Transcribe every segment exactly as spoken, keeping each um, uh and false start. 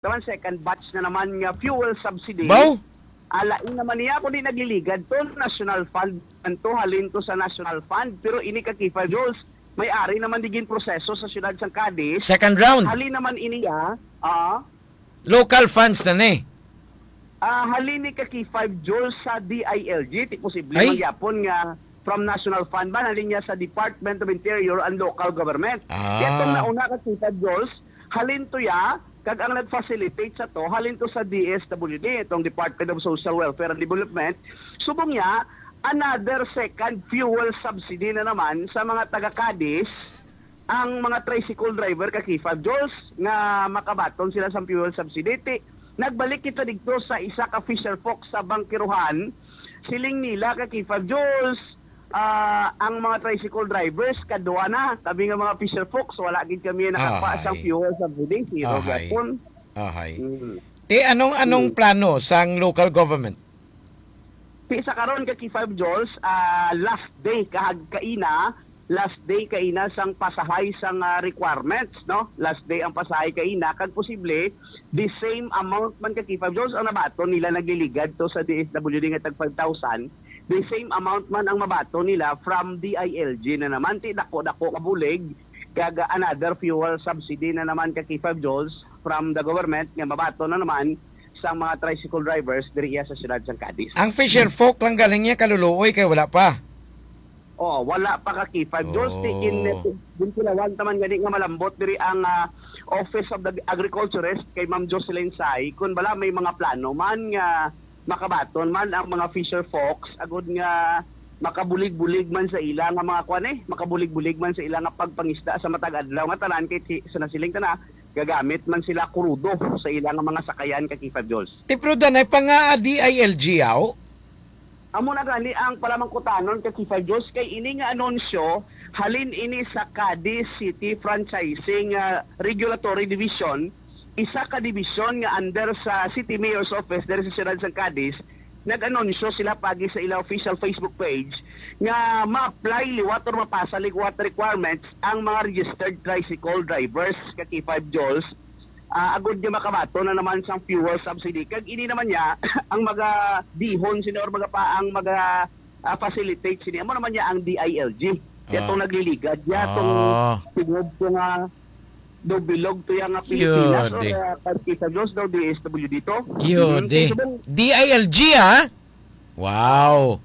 Taman second batch na naman nga fuel subsidy. Baw? Alain naman niya kung di nagliligad to, national fund man to, halin to sa national fund. Pero ini ka K five Jules, may ari naman di gin proseso sa siyudad sang Cadiz. Second round. Halin naman ini, ah, ah, Local funds na ni. Ah, halin ni ka K five Jules sa D I L G, ti posible Ay. man gyapon nga from National Fund man, halin niya sa Department of Interior and Local Government. Ah. Kaya itong nauna ka K five Jules, halin to ya, kag ang nag-facilitate sa to, halin to sa D S W D, itong Department of Social Welfare and Development. Subong niya, another second fuel subsidy na naman sa mga taga Cadiz, ang mga tricycle driver ka K five Jules nga makabaton sila sa fuel subsidy. Ti, nagbalik kita dito sa isa ka fisher folk sa Bangkiruhan. Siling nila ka K five Jules, ah, ang mga tricycle drivers, kadwa na. Kami nga mga fisher folks, wala gid kami nakapa Ahay. sang fuel subsidy. Zero Ahay. gyapon. Ahay. Mm. Ti, anong, anong Mm. plano sang local government? Ti sa karon ka K five Jules, ah, last day kahag kaina, last day kaina sang pasahay sang, ah, requirements, no? Last day ang pasahay kaina, kag posible, the same amount man ka K five Jules ang nabaton nila nagliligad to sa D S W D nga tag five thousand, the same amount man ang mabaton nila from D I L G na naman, ti dako-dako ka bulig, kag another fuel subsidy na naman ka K five Jules from the government nga mabaton na naman sang mga tricycle drivers diri iya sa siyudad sang Cadiz. Ang fisher folk lang galing niya kaluluoy kay wala pa. Oh, wala pa ka K five Jules. Oh. Ti gin-, gintilawan taman gani nga malambot diri ang, ah, Office of the Agriculturist kay Ma'am Jocelyn Say, kun bala may mga plano man nga makabaton man ang mga fisher folks, agud nga makabulig-bulig man sa ila nga mga kuan eh, makabulig-bulig man sa ila nga pagpangisda sa matag adlaw nga tanan kay ti-, sa nasiling tana, gagamit man sila krudo sa ila nga mga sakayan ka K five Jules. Ti, pero danay pa nga, ah, D I L G, aw? Amo na gani ang palamangkutanon ka K five Jules, kay ini nga anunsyo halin ini sa Cadiz City Franchising, ah, Regulatory Division, isa ka dibisyon nga under sa City Mayor's Office diri sa siyudad sang Cadiz. Nag-anunsyo sila pagi sa ila official Facebook page nga ma-apply liwat or mapasa liwat requirements ang mga registered tricycle drivers ka K five Jules, ah, agud nga makabaton na naman sang fuel subsidy. Kag ini naman niya ang magadihon sini or magapa-, ang maga, ah, facilitate sini. Amo naman niya ang D I L G. Kaya Ah. itong nagliligad niya, itong Ah. tungod ko nga daw bilog to yang nga Pilipinas, Yun, or, di. ah, Partido Diyos daw, D S W D to. Yun, Mm, di. kaya sabang D I L G, ah? Wow.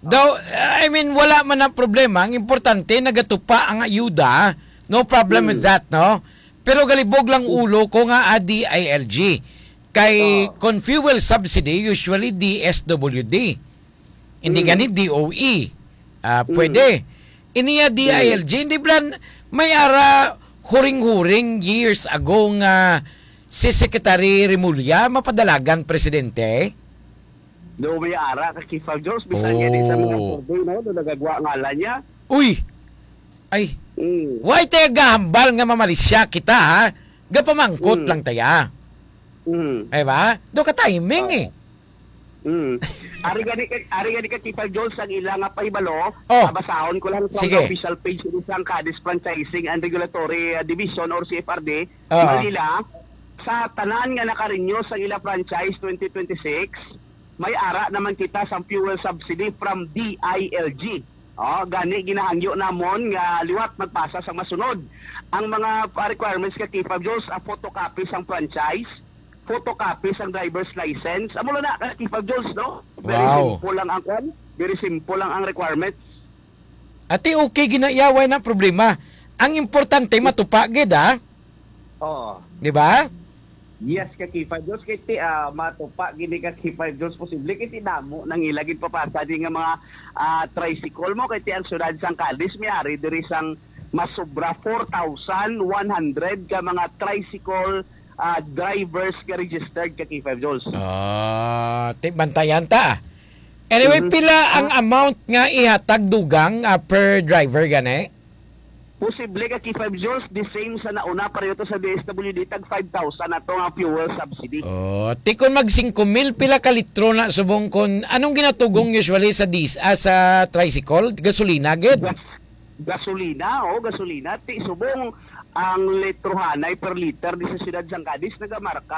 Daw, I mean, wala man ang problema. Ang importante, nagatupa ang ayuda. No problem with Hmm. that, no? Pero galibog lang Hmm. ulo ko nga, ah, D I L G. Kay Oh. kung fuel subsidy, usually D S W D. Hindi Hmm. gani D O E. Ah, Hmm. pwede. Iniya Hmm. D I L G, hindi blan, may ara huring-huring years ago nga si Secretary Remulla mapadalagan presidente? Do may ara ka Kifag Jones, bisan nga di sa mga Oh. survey, no? Do nagagwa ngalan niya. Uy! Ay, Mm. why tayo gahambal nga mamalisya kita, ha? Gapamangkot Mm. lang taya. Mm. Ay ba? Do ka timing, Oo. eh. Mm. Ari gani ka, ari gani ka Kifag Jones ang ila nga pahibalo. Oh. Ah, basahon ko lang from Sige. the official page ni sang Cadiz Franchising and Regulatory, ah, Division or C F R D, Oo. Manila, sa tanan nga naka-renew sa ila franchise twenty twenty-six, may ara naman kita sang fuel subsidy from D I L G. Oh, gani ginahangyo namon nga liwat magpasa sang masunod. Ang mga, ah, requirements ka Kifag Jones, a photocopy sang franchise, photocopy sang driver's license. Amo lang na ka Kifag Jones, no? Very Wow. simple lang ang kwan. Very simple lang ang requirements. Ati, okay, ginayaway na problema. Ang importante, matupa gid, ah. Oo. Di ba? Yes, ka Kifag Jones. Kay ti, ah, matupa gini ka Kifag Jones. Posible kay ti damo nang ila gid papasa di nga mga, ah, tricycle mo. Kay ti ang siyudad sang Cadiz, may ari diri sang mas sobra four thousand one hundred ka mga tricycle, ah, drivers ka registered ka Kifag Jones. Ah, ti, bantayan ta. Anyway, Mhm. pila ang Ah. amount nga ihatag dugang, ah, per driver gani? Posible ka Kifag Jones, the same sa nauna, pareho to sa D S W D, tag five thousand na to nga fuel subsidy. Oh, ti kon mag singko mil, pila ka litro na subong kon, anong ginatugong usually sa dis-, ah, sa tricycle? Gasolina gid? Gas-, gasolina, oh, gasolina. Ti subong, Ang litrohanay per liter di sa siyudad sang Cadiz nagamarka